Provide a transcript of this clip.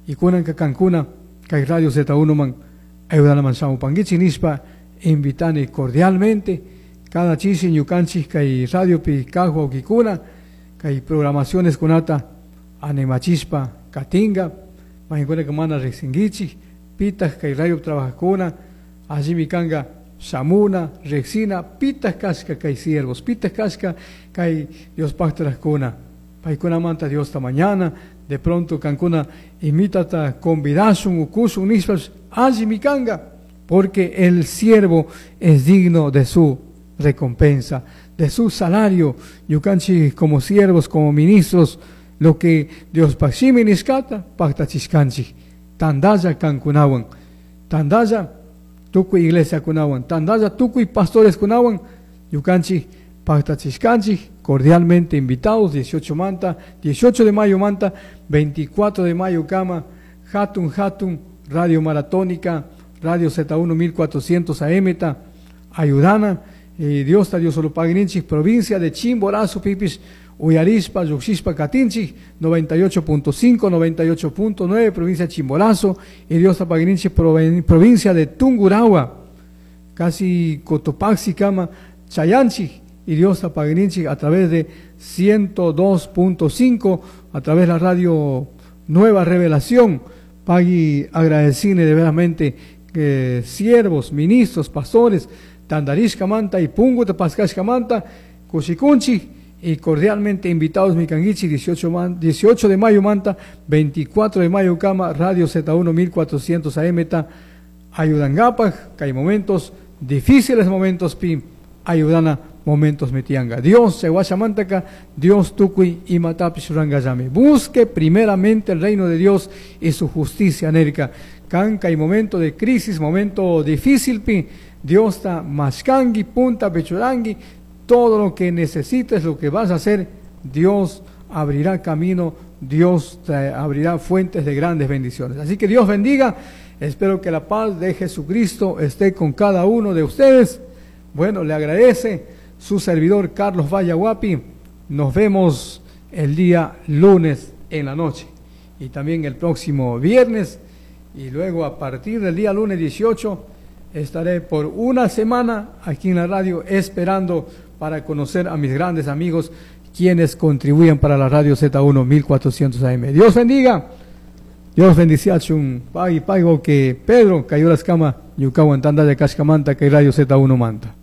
Y kunanka kankuna kay Radio Z1 man ayudanaman shamupankichik nishpa invitani cordialmente cada chishi ñukanchik kay radiopi kaq wawkikuna kay programaciones kunata animachishpa katinga mayqinkunaka mana riqsinkichik pitaq kay radio trabajaqkuna allimi kanka shamuna riqsina pitaq kashka kay siervos pitaq kashka kay Diospaqta rajkuna paykunamanta Diosta mañana de pronto kankuna imitata convidashun ukushun nishpash allimi kanka porque el siervo es digno de su recompensa, de su salario. Ñukanchik como siervos, como ministros, lo que Dios shimi nishkata pactachishkanchik. Tandalla kankunawan, tandalla tukuy iglesiakunawan, tandalla tukuy pastoreskunawan, ñukanchik pactachishkanchik, cordialmente invitados, 18 manta, 18 de mayo manta, 24 de mayo kama, hatun hatun, Radio Maratónica, Radio Z1 1400 AM ta, ayudana, Dios ta Dios solo pagninchik, provincia de Chimborazo, pipish, uyarishpa, lluqshishpa katinchik, 98.5, 98.9, provincia de Chimborazo, y Dios ta pagninchik, provincia de Tungurahua, casi Cotopaxi kama, Chayanchik, y Dios ta pagninchik a través de 102.5, a través de la radio Nueva Revelación. Pagui agradecine de veramente que siervos, ministros, pastores, tandarishka manta y punguta paskashka manta, kushikunchi, y cordialmente invitados mi kanguichi, 18 de mayo manta, 24 de mayo kama, Radio Z1 1400 AM ta, ayudangapaj, que hay momentos difíciles, momentos pi, ayudana momentos metianga. Dios se guachamantaka, Dios tukuy imatapish rangayame. Busque primeramente el reino de Dios y su justicia, nerka. Kanka y momento de crisis, momento difícil pi, Dios ta mashkangi, punta pechurangi, todo lo que necesites, lo que vas a hacer, Dios abrirá camino, Dios te abrirá fuentes de grandes bendiciones. Así que Dios bendiga, espero que la paz de Jesucristo esté con cada uno de ustedes. Bueno, le agradece su servidor Carlos Vallahuapi. Nos vemos el día lunes en la noche y también el próximo viernes, y luego a partir del día lunes 18 estaré por una semana aquí en la radio esperando para conocer a mis grandes amigos quienes contribuyen para la radio Z1 1400 AM. Dios bendiga. Dios bendice chun pagui pago que Pedro cayó las camas ñukawan tandalla kashkamanta kay radio Z1 manta.